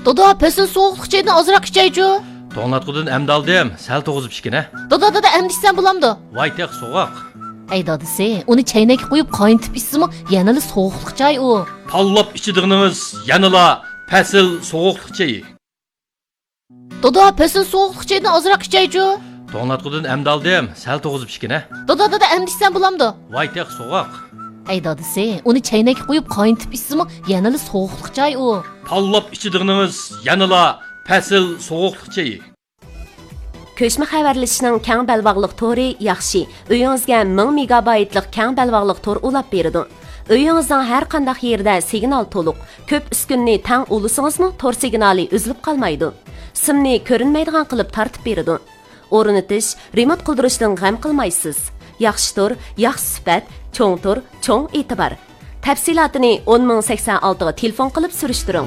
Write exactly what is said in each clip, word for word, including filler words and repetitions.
دادا، پەسىل سوغۇقلۇق چايدىن ئازراق ئىچەيچۇ. توڭلاتقۇدىن ئەمدى ئالدىم، سەل توغۇزۇپ ئىچكىنە. دادا، دادا، ئەمدى ئىچسەم بولامدۇ؟ ۋاي تېخى سوغۇق. ئەي دادىسى، ئۇنى چەينەككە قۇيۇپ قاينىتىپ ئىچسىمۇ يەنىلا سوغۇقلۇق چاي ئۇ. پاللاپ ئىچىدىغىنىڭىز يەنىلا پەسىل سوغۇقلۇق چېيى. دادا، پەسىل سوغۇقلۇق چايدىن ئازراق ئىچەيچۇ. توڭلاتقۇدىن ئەمدى ئالدىم، سەل توغۇزۇپ ئىچكىنە. دادا، دادا، ئەمدى ئىچسەم بولامدۇ؟ ۋاي تېخى سوغۇق. ئەي دادىسى، ئۇنى چەينەككە قۇيۇپ قاينىتىپ ئىچسىمۇ يەنىلا سوغۇقلۇق چاي ئۇ. پاللاپ ئىچىدىغىنىڭىز يەنىلا پەسىل سوغۇقلۇق چېيى. كۆچمە خەۋەرلىشىشنىڭ كەڭ بەلباغلىق تورى ياخشى. ئۆيىڭىزگە مىڭ مېگابايتلىق كەڭ بەلباغلىق تور ئۇلاپ بېرىدۇ. ئۆيىڭىزنىڭ ھەر قانداق يېرىدە سىگنال تولۇق. كۆپ ئۈسكۈنىنى تەڭ ئۇلىسىڭىزمۇ تور سىگنالى ئۈزۈلۈپ قالمايدۇ. سىمنى كۆرۈنمەيدىغان قىلىپ تارتىپ بېرىدۇ. ئورنىتىش، رېمونت قىلدۇرۇشتىن غەم قىلمايسىز. ياخشى تور، ياخشى سۈپەت، چوڭ تور، چوڭ ئېتىبار. تەپسىلاتىنى ئون مىڭ سەكسەن ئالتىغا تېلېفون قىلىپ سۈرۈشتۈرۈڭ.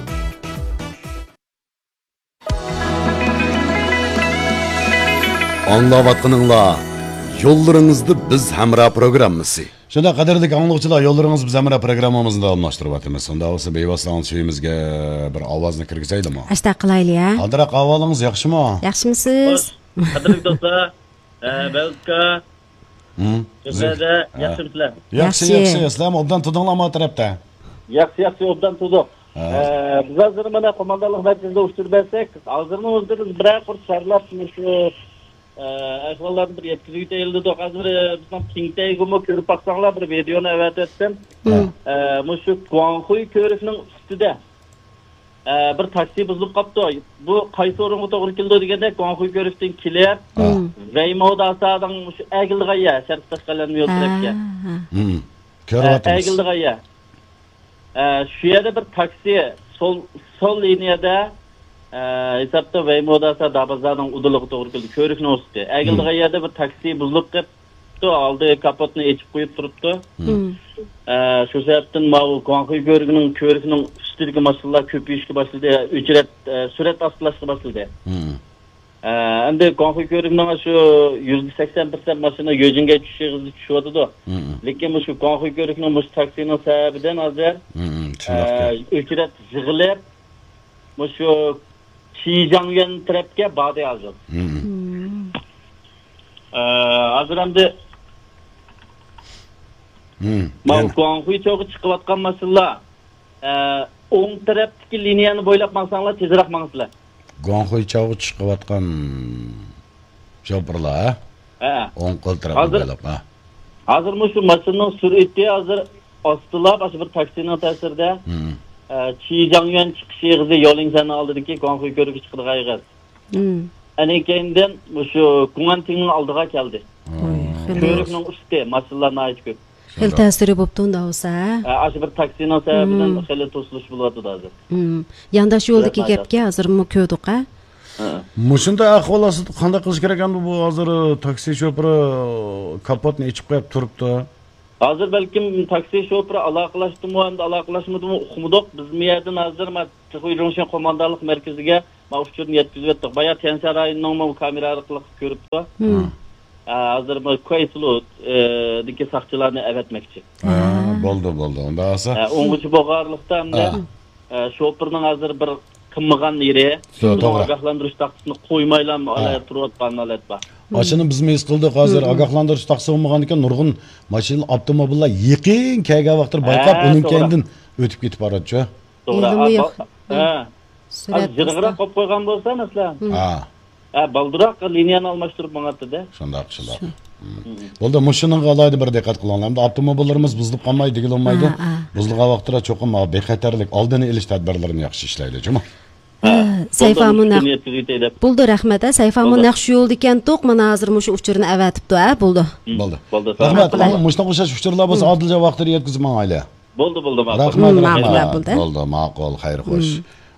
ئاڭلاۋاتقىنىڭلار يوللىرىڭىزدا بىز ھەمراھ پروگراممىسى. شۇنداق، قەدىرلىك ئاڭلىغۇچىلار، يوللىرىڭىز بىز ھەمراھ پروگراممىمىزنى داۋاملاشتۇرۇۋاتىمىز. شۇنداق بولسا، بىۋاسىتە ئاڭلىتىش ئۆيىمىزگە بىر ئاۋازنى كىرگۈزەيلىمۇ؟ ئاشتاق قىلايلى، ھە؟ قانداق ئەھۋالىڭىز، ياخشىمۇ؟ ياخشىمۇسىز؟ خوش، قەدىرلىك دوستلار، ئە، بەلكا، ھىم. سىلەردە ھە. ياخشىمۇسىلەر؟ ياخشى، ياخشى. ياخشى. سىلەرمۇ ئوبدان تۇردۇڭلارمۇ تەرەپتە؟ ياخشى، ياخشى، ئوبدان تۇردۇق. ھە. ئە، بىز ھازىر مانا قوماندانلىق مەركىزىدە ئۇچۇر بەرسەك، ھازىرنىڭ ئۆزىدە بىز بىرەر قۇر سارلاپ، مۇشۇ، ئە، ئەھۋاللارنى بىر يەتكۈزۈۋېتەيلى دېدۇق. ھازىر، ئە، بىزنىڭ كېڭتەيگىمۇ كۆرۈپ باقساڭلار، بىر ۋىدېئونى ئەۋەتىۋەتتىم. ھە. ئە، مۇشۇ گۇاڭخۇي كۆۋرۈكنىڭ ئۈستىدە، ئە، بىر تاكسى بۇزۇلۇپ قاپتۇ. بۇ قايسى ئورۇنغا توغرا كېلىدۇ دېگەندە، گۇاڭخۇي كۆۋرۈكتىن كېلىپ، ھە. ۋەيماۋداسادىڭ مۇشۇ ئەگىلىدىغان يەر، شەرقىي تاشقەلەن يول تەرەپكە. ھە، ھە. ھىم. ئە، كۆرۈۋاتىمىز. ئەگىلىدىغان يەر. ئە، شۇ يەردە بىر تاكسى سول، سول لىنىيەدە، ئە، ھېسابتا ۋەيموداسا دابازانىڭ ئۇدۇلىغا توغرا كېلىدۇ. كۆۋرۈكنىڭ ئۈستى. ئەگىلىدىغان يەردە بىر تاكسى بۇزۇلۇپ قېپتۇ، ئالدى كاپوتنى ئېچىپ قويۇپ تۇرۇپتۇ. ئە، شۇ سەۋەبتىن ماۋۇ گۇاڭخۇي كۆۋرۈكىنىڭ، كۆۋرۈكنىڭ ئۈستىدىكى ماشىنىلار كۆپىيىشكە باشلىدى، ئۆچرەت، ئە، سۈرئەت ئاستىلاشقا باشلىدى. ئە، ئەمدى گۇاڭخۇي كۆۋرۈكنىڭ شۇ يۈزدە سەكسەن پىرسەنت ماشىنا يۆجىنگەي چۈشۈش ئېغىزىدا چۈشۈۋاتىدۇ. لېكىن مۇشۇ گۇاڭخۇي كۆۋرۈكنىڭ مۇشۇ تاكسىنىڭ سەۋەبىدىن ھازىر، ئە، ئۆچرەت يىغىلىپ، مۇشۇ چىجاڭيۈەن تەرەپكە باردى ھازىر. ئە، ھازىر ئەمدى ماۋۇ گۇاڭخۇي چوغا چىقىۋاتقان ماشىنىلار، ئە، ئوڭ تەرەپتىكى لىنىيەنى بويلاپ ماڭساڭلار تېزرەك ماڭىسىلەر. گۇاڭخۇي چاۋغا چىقىۋاتقان شوپۇرلار، ھە؟ ھە. ئوڭ قول تەرەپنى ھازىر، بويلاپ، ھە. ھازىر مۇشۇ ماشىنىنىڭ سۈرئىتى ھازىر ئاستىلاپ، ئاشۇ بىر تاكسىنىڭ تەسىرىدە، ئە، چىجاڭيۈەن چىقىش ئېغىزى يولىڭشەننىڭ ئالدىدىكى گۇاڭخۇي كۆۋرۈكى چىقىدىغان ئېغىز. ئەنە كەينىدىن مۇشۇ گۇڭئەنتىڭنىڭ ئالدىغا كەلدى. ۋاي، خېلى كۆۋرۈكنىڭ ئۈستى، ماشىنىلار ناھايىتى كۆپ. خېلى تەسىرى بوپتۇ ئۇندا بولسا، ھە؟ ھە، ئاشۇ بىر تاكسىنىڭ سەۋەبىدىن خېلى توسۇلۇش بولۇۋاتىدۇ ھازىر. يانداش يولدىكى گەپكە ھازىرمۇ كۆردۇق، ھە؟ مۇشۇنداق ئەھۋال ئاستىدا قانداق قىلىش كېرەك ئەمدى بۇ ھازىر تاكسى شوپۇرى كاپوتنى ئېچىپ قويۇپ تۇرۇپتۇ. ھازىر بەلكىم تاكسى شوپۇرى ئالاقىلاشتىمۇ، ئەمدى ئالاقىلاشمىدىمۇ ئۇقمىدۇق. بىز بۇ يەردىن ھازىر ما، تېخۇيجۇڭشىن قوماندانلىق مەركىزىگە ما ئۇچۇرنى يەتكۈزۈۋەتتۇق. بايا تيەنشان رايونىنىڭمۇ كامېرا ئارقىلىق كۆرۈپتۇ. ھە، ھازىر ما كۇەيسۇلۇ، ئە، دىكى ساقچىلارنى ئەۋەتمەكچى. ھە، بولدى، بولدى. ئۇندا بولسا، ھە، ئوڭغۇچى بولغانلىقتا ئەمدى، ئە، شوپۇرنىڭ ھازىر بىر قىلمىغان يېرى، شۇنىڭ ئاگاھلاندۇرۇش تاختىسىنى قويمايلا ھالايىق تۇرۇۋاتقان ھالەت بار. ئاشۇنى بىزمۇ ھېس قىلدۇق. ھازىر ئاگاھلاندۇرۇش تاختىسى بولمىغاندىكىن نۇرغۇن ماشىنا، ئاپتوموبىللار يېقىن كەلگەن ۋاقىتتا بايقاپ، ھە، ئۇنىڭ كەينىدىن ئۆتۈپ كېتىپ باراتچۇ. توغرا. ھە. سۈرئەت ئاز جىرىغىراق قويۇپ قويغان بولسا، مەسىلەن. ھە. ھە، بالدۇراق لىنىيەنى ئالماشتۇرۇپ ماڭاتتى-دە. شۇنداق، شۇنداق. بولدى، مۇشۇنىڭغا ئالاھىدە بىر دىققەت قىلىڭلار. ئەمدى ئاپتوموبىللىرىمىز بۇزۇلۇپ قالماي دېگىلى بولمايدۇ. ھە، ھە. بۇزۇلغان ۋاقىتتا چوقۇم بىخەتەرلىك، ئالدىنى ئېلىش تەدبىرلىرىنى ياخشى ئىشلەيلى، جۇمۇ. ھە، سەيفامۇ نەق، بولدى، رەھمەت، ھە، سەيفامۇ نەق شۇ يولدا ئىكەنتۇق، مانا ھازىر مۇشۇ ئۇچۇرنى ئەۋەتىپتۇ، ھە، بولدى. بولدى. رەھمەت. مۇشۇنداق ئوخشاش ئۇچۇرلار بولسا ئادىلجان ۋاقتىدا يەتكۈزۈپ ماڭايلى. بولدى، بولدى، ماقۇل. رەھمەت، رەھمەت. بولدى، ماقۇل، خەير خوش.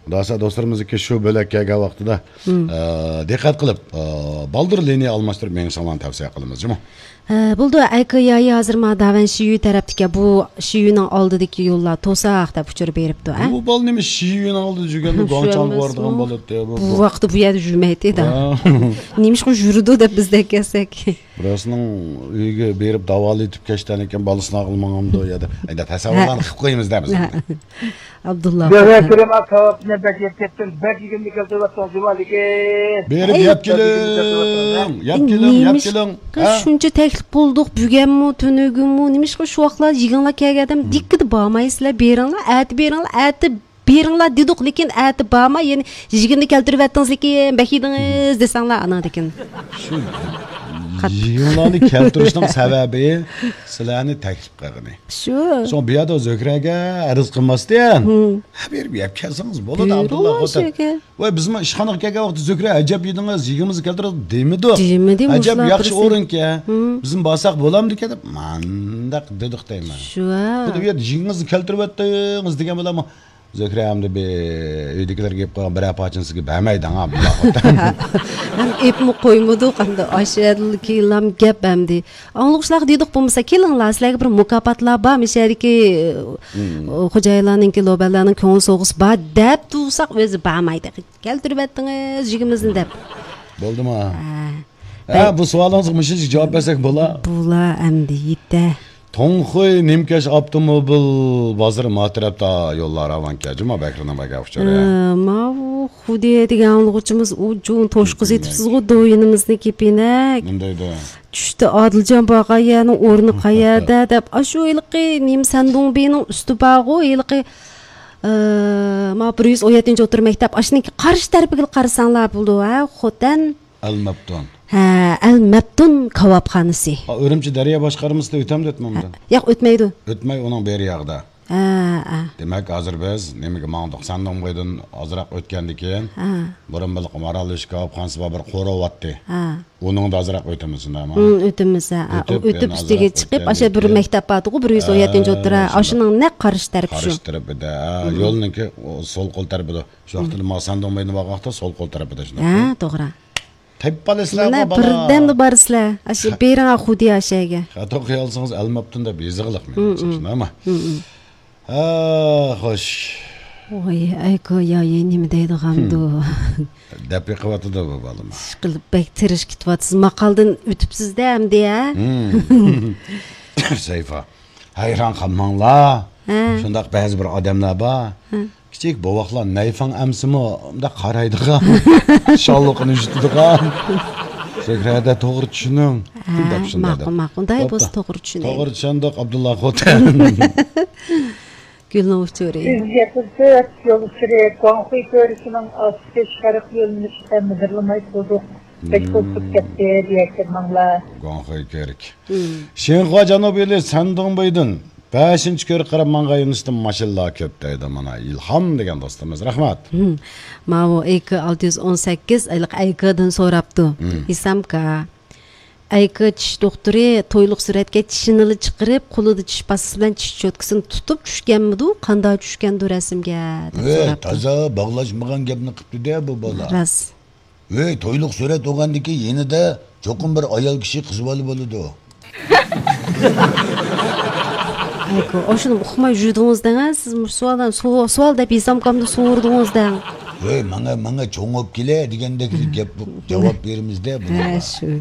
خۇداسى دوستلىرىمىزنىڭكى شۇ بۆلەككە كەلگەن ۋاقتىدا، ئە، دىققەت قىلىپ، ئە، بالدۇر لىنىيە ئالماشتۇرۇپ مېڭىشىڭلارنى تەۋسىيە قىلىمىز، جۇمۇ. ھە، بولدى، ئەيكې يايى ھازىر ما داۋەن شىيۈ تەرەپتىكەن، بۇ شىيۈنىڭ ئالدىدىكى يوللار توساق دەپ ئۇچۇر بېرىپتۇ، ھە؟ بۇ بالا نېمە شىيۈنىڭ ئالدىدا يۈرگەندە گۇاڭچاڭغا بارىدىغان بالا دەيدۇ، بۇ. بۇ ۋاقىتتا بۇ يەردە يۈرمەيتتى، ھە. نېمىشقا يۈرىدۇ دەپ بىز دەپ كەلسەك. بىرسىنىڭ ئۆيىگە بېرىپ داۋالىتىپ كەچتىن كېيىن بالىسىنى ئاغلىمىغانمىدۇ يا دە-، ئەيدە، تەسەۋۋۇرلارنى قىلىپ قويىمىز دە بىز. ئابدۇللا گۆھەر خوتۇن. كېرىم ئاكا، كاۋاپنى بەك يەپ كەتتىم، بەك يېگىمنى كەلتۈرۈۋەتتىڭىز جۇما لېكىن. بېرىپ ئەي. يەپ كېلىڭ، يەپ كېلىڭ، يەپ كېلىڭ. نېمىشقا ھە؟ شۇنچە تەكلىپ قىلدۇق، بۈگۈنمۇ، تۈنۈگۈنمۇ، نېمىشقا شۇ ۋاقىتلار يېگىڭلار كەلگەندە دىككىدە بارمايسىلەر، بېرىڭلار، ئەتە بېرىڭلار، ئەتە بېرىڭلار دېدۇق، لېكىن ئەتە بارماي، يەنە يېگىمنى كەلتۈرۈۋەتتىڭىز، لېكىن بەك يېدىڭىز دېسەڭلار ئاناندىكىن. شۇ قات- يېگىڭلارنى كەلتۈرۈشنىڭ سەۋەبى سىلەرنى تەكلىپ قىلغىنى. شۇ. سوڭ بۇ يەردە زۆھرەگە ئەرز قىلماستىن، ھە، بېرىپ يەپ كەلسىڭىز بولىدۇ، ئابدۇللا خوتەن. ۋاي، بىزمۇ ئىشخانىغا كەلگەن ۋاقىتتا زۆھرە، ئەجەب يېدىڭىز، يېگىمىزنى كەلتۈرىڭىز دېمىدۇق. دېمىدى، ئەجەب مۇشۇلار ياخشى بىرسى. ئورۇنكەن. ھىم. بىزمۇ بارساق بولامدىكەن دەپ مانداق دېدۇق دەيمەن. شۇ. خۇددى بۇ يەردە يېگىڭىزنى كەلتۈرۈۋەتتىڭىز دېگەن بىلەنمۇ زۆھرە ئەمدى بىر ئۆيدىكىلەرگە يەپ قويغان بىرەر پارچىنى سىزگە بەرمەيدۇ ھا، بۇنداق. ھەم ئېپمۇ قويمىدۇق، ئەمدى ئاشۇ يەردىلا كېيىنلام گەپ ئەمدى. ئاڭلىغۇچىلارغا دېدۇق، بولمىسا كېلىڭلار، سىلەرگە بىر مۇكاپاتلار بار، مۇشۇ يەردىكى، ئۇ، خوجايىنلارنىڭكى، لوبەرلەرنىڭ كۆڭۈل سوۋغىسى بار دەپ تۇرساق، ئۆزى بارمايدۇ. كەلتۈرۈۋەتتىڭىز يېگىمىزنى دەپ. بولدىما؟ ھە. ھە، بۇ سوئالىڭىزغا مۇشۇنچە جاۋاب بەرسەك بولا. بولا ئەمدى يېتە. توڭخۇي نىمكەش ئاپتوموبىل بازىرى ما تەرەپتە يوللار راۋانكەن. جۇما بەكرىنىڭ بەگە ئۇچۇرى. ھە، ماۋۇ خۇدىيە دېگەن ئاڭلىغۇچىمىز ئۇ جۇڭ توشقۇزى ئېتىپسىزغۇ، دويىنىمىزنى كېپىنەك. مۇندايدۇ. چۈشتە ئادىلجان بارغان يەرنىڭ ئورنى قەيەردە دەپ، ئاشۇ ھېلىقى نېمە سەندۇڭبىنىڭ ئۈستى بارغۇ، ھېلىقى، ئە، ما بىر يۈز ئون يەتتىنچى ئوتتۇرا مەكتەپ، ئاشۇنىڭكى قارشى تەرىپىگە قارىساڭلار بولىدۇ، ھە، خوتەن. ئەل مەپتۇن. ھە، ئەل مەپتۇن كاۋاپخانىسى. ئا، ئۈرۈمچى دەريا باشقارمىسىدا ئۆتەمدۇ، ئۆتمەمدۇ؟ ھە، ياق، ئۆتمەيدۇ. ئۆتمەي، ئۇنىڭ بېرى ياغدا. ھە، ھە. دېمەك، ھازىر بىز نېمىگە ماڭدۇق؟ سەندۇڭبېيدىن ئازراق ئۆتكەندىن كېيىن، ھە، بۇرۇن بىر مارالبېشى كاۋاپخانىسى بار، بىر قورۇ بارتتى. ھە. ئۇنىڭدا ئازراق ئۆتىمىز، شۇنداقمۇ؟ ھىم، ئۆتىمىز، ھە، ھە. ئۆتۈپ، ئۆتۈپ يەنە ئۈستىگە ئازراق چىقىپ، ئاشۇ بىر ئۆتكەندىن مەكتەپ بارتىغۇ، بىر يۈز ئون يەتتىنچى ئوتتۇرا، ھە، ئاشۇنىڭ نەق قارشى تەرىپى شۇ. قارشى تەرىپىدە، ھە، يولنىڭكى سول قول تەرىپىدە. شۇ ۋاقىتتا ما سەندۇڭبېيدىن بارغان ۋاقىتتا سول قول تەرىپىدە، شۇنداقمۇ؟ ھە، توغرا. تېپىپ قالىسىلەر مانا، بۇ بالا. بىردەمدە بارىسىلەر. ئاشۇ بېرىڭا خۇدىيا شەيگە. خاتا قويالىسىڭىز ئەلمەپتۇن دەپ يېزىغلىق مېنىڭچە، شۇنداقمۇ؟ ھە، خوش. ۋاي، ئەيكو يايى نېمە دەيدىغاندۇ؟ دەپ بېقىۋاتىدۇ بۇ بالىمۇ. ئىشقىلىپ بەك تىرىشىپ كېتىۋاتىسىز. ماقالدىن ئۆتۈپسىز-دە ئەمدى، ھە؟ سەيفا. ھەيران قالماڭلار. ھە. شۇنداق بەزى بىر ئادەملەر بار. ھە. كىچىك بوۋاقلار نەيفاڭ ئەمسىمۇ مۇنداق قارايدىغان، شاللىقىنى يۈزىتىدىغان. زۆھرەدە توغرا چۈشىنىڭ. ھە، دەپ شۇنداق ماقۇل، دەپ. ماقۇل. ئۇنداق بوپتۇ. بولسا توغرا چۈشىنىڭ. توغرا چۈشەندۇق، ئابدۇللا خوتەن. گۈلنىڭ ئۇچۇرى. يۈز يەتمىش تۆت يول ئۇچۇرى، گۇاڭخۇي كۆۋرۈكىنىڭ ئاستى شەرق يۆنىلىشىدە مىدىرلىماي تۇردۇق. بەك توسۇپ كەتتى، دېيەركەن ماڭلار. گۇاڭخۇي كۆۋرۈك. شىنخۇا جەنۇبىي يولى سەندۇڭبېيدىن بەشىنچى كۆۋرۈككە قاراپ ماڭغان يۆنىلىشتە ماشىنىلار كۆپ دەيدۇ. مانا، ئىلھام دېگەن دوستىمىز، رەھمەت. ماۋۇ ئەيكى ئالتە يۈز ئون سەككىز، ئەيكىدىن سوراپتۇ. ھېسامكا. ئەيكى چىش دوختۇرى تويلۇق سۈرەتكە چىشىنىلا چىقىرىپ، قولىدا چىش پاستىسى بىلەن چىش چوتكىسىنى تۇتۇپ چۈشكەنمىدۇ؟ قانداق چۈشكەندۇ رەسىمگە؟ دەپ ۋەي، سوراپتۇ. تازا باغلاشمىغان گەپنى قىپتۇ-دە بۇ بالا. راست. ۋەي، تويلۇق سۈرەت بولغاندىكىن يېنىدا چوقۇم بىر ئايال كىشى قىزىۋالا بولىدۇ. ئەيكۇ، ئاشۇنى ئۇقماي يۈردىڭىز دەڭە، سىز مۇشۇ سوئالدىن سو-، سوئال دەپ ھېسامكامدا سورىدىڭىز دەڭ. ۋەي، ماڭا، ماڭا چوڭ بولۇپ كېلە دېگەندەك گەپ، جاۋاب بېرىمىز-دە بۇنىڭغا. ھە، شۇ.